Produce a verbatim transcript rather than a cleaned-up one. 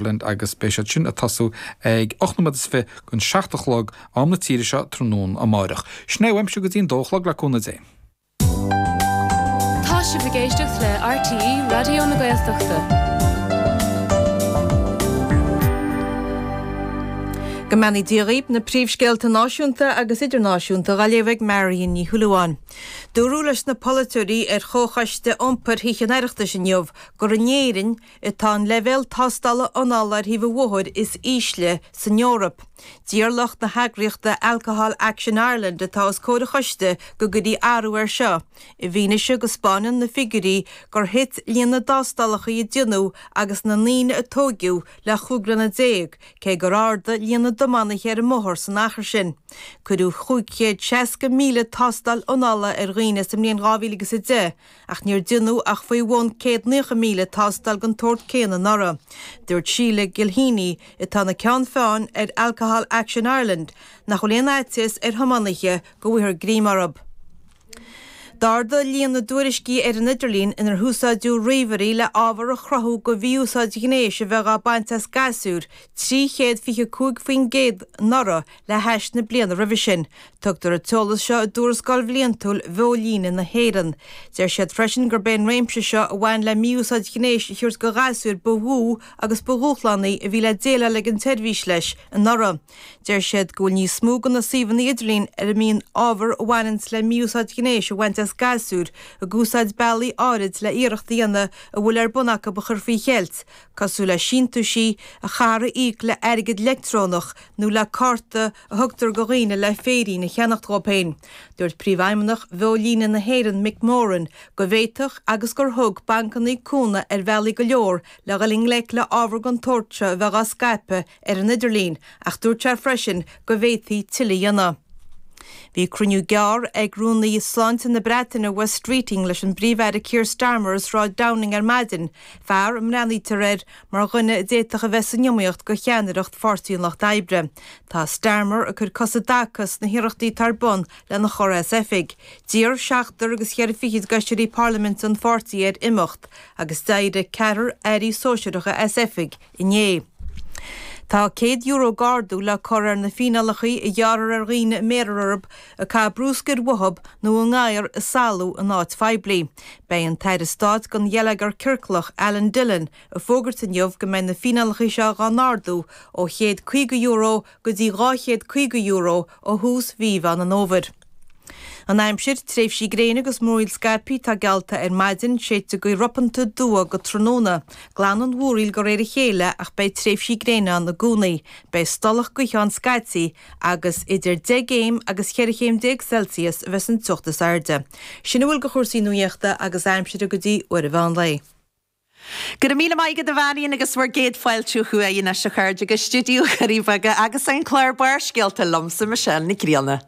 agus beidh siad sin ag tosú ag ocht nóiméad is fiche don seacht a chlog am na tíre seo tráthnóna amárach. Sin é uaimse go dtí an dó a chlog le cúnamh Dé. Tá sibh ag éisteacht le RTÉ Raidió na Gaeltachta. Go mbeannaí Dia dhaoibh, na príomhscéalta náisiúnta agus idirnáisiúnta á léamh ag Marion Ní Shúilleabháin. Dúradh leis na polaiteoirí ar Chomhchoiste Iompair Thithe an Oireachtais inniu gur in Éirinn atá an leibhéal tástála anála ar thaobh an bhóthair is ísle san Eoraip. D'iarr lucht na heagraíochta Alcohol Action Ireland atá os comhair an choiste go gcuirfí athrú air seo, i bhfianaise go 'spáineann na figiúirí gur thit líon na dtástálacha a déanadh agus na ndaoine a tóigeadh le chúig bliana déag, cé gur ardaigh líon na dtiománaithe ar an mbóthar san achar sin. Cuireadh chúig chéad seasca míle tástáil anála ar dhaoine sa mbliain dhá mhíle agus a deich, ach níor déanadh ach faoi bhun céad naocha míle tástáil den tsórt céanna anuraidh. Dúirt Sheila Gilheany, atá ina ceann feadhain ar Alcohol Action Ireland, nach bhfuil aon fhaitíos ar thiománaithe go bhfaighfear greim orthu. D'ardaigh líon na dtuairiscí ar an idirlíon inar húsáideadh ríomhairí le ábhar a chruthú de mhí-úsáid ghnéis a bheith á baint as gasúir trí chéad fiche cúig faoin gcéad anuraidh le hais na bliana roimhe sin. Tugtar an t-eolas seo i dtuarascáil bhliantúil Bheolíne na hÉireann. Deir siad freisin gurb é an réimse seo a bhain le mí-úsáid ghnéis a thabhairt do ghasúir ba mhó agus ba dhúshlánaí a bhí le déileáil ag an tseirbhís leis anuraidh. Deir siad go bhfuil níos mó de na suíomhanna idirlín ar a mbíonn ábhar a bhaineanns le mí-úsáid ghnéis a bhaint as gasúir ag úsáid bealaí áirid le iarracht a dhéanamh a bhfuil ar bun acu a chur faoi cheilt, cosúil le síntiúisí a chaithfear a íoc le airgead leictreonach nó le cárta a thugtar do dhaoine le féirín a cheannacht dhóibh féin. Dúirt Príomhfheidhmeannach Bheolíne na hÉireann Mick Moran go bhféadfadh agus gur thug bancanna cúnamh ar bhealaí go leor le dhul i ngleic le ábhar den tsórt seo a bheith á scaipeadh ar an idirlíon ach dúirt sé freisin go bhféadfaí tuilleadh a dhéanamh. Bhí cruinniú gearr ag Rúnaí Sláinte na Breataine Wes Streeting leis an bPríomh-Aire Keir Starmer i Sráid Downing ar maidin, fear a mbreathnaítear air mar dhuine a d'fhéadfadh a bheith san iomaíocht do cheannaireacht Pháirtí an Lucht Oibre. Tá Starmer ag cur cos i dtaca sna hiarrachtaí atá ar bun lena chur as oifig. D'iarr seachtar agus cheithre fichid d'fheisirí parlaiminte an pháirtí air imeacht agus d'éirigh ceathrar airí sóisearacha as oifig inné. Tá céad euro d'ardú le cur ar na fíneálacha a ghearrfar ar dhaoine a mbéarfar orthu ag caitheamh bruscair uathu nó a ngadhar ag salú in áit phoiblí. Beidh an tAire Stáit don Gheilleagar Ciorclach, Alan Dillon, ag fógairt inniu go mbeidh na fíneálacha seo dhá n-ardú ó chéad caoga euro go dtí dhá chéad caoga euro ó thús mhí Mheán an Fhómhair. An aimsir, tréimhsí gréine agus múraíl scaipthe atá geallta ar maidin, séidfidh gaoth ropanta aduaidh go tráthnóna. Glanfaidh an mhúraíl de réir a chéile ach beidh tréimhsí gréine ann i gcónaí. Beidh stolladh gaoithe ann scaití agus idir deich gcéim agus cheithre chéim déag Celsius a bheas an teocht is airde. Sin a bhfuil de chúrsaí nuaíochta agus aimsire go dtí uair an mheán lae. Go raibh míle maith agat a Mharion agus bhur gcéad fáilte chugainn anois a chairde go stiúideo Dhoirí Beaga agus an clár Barrscéalta liomsa Michelle Nic Grianna.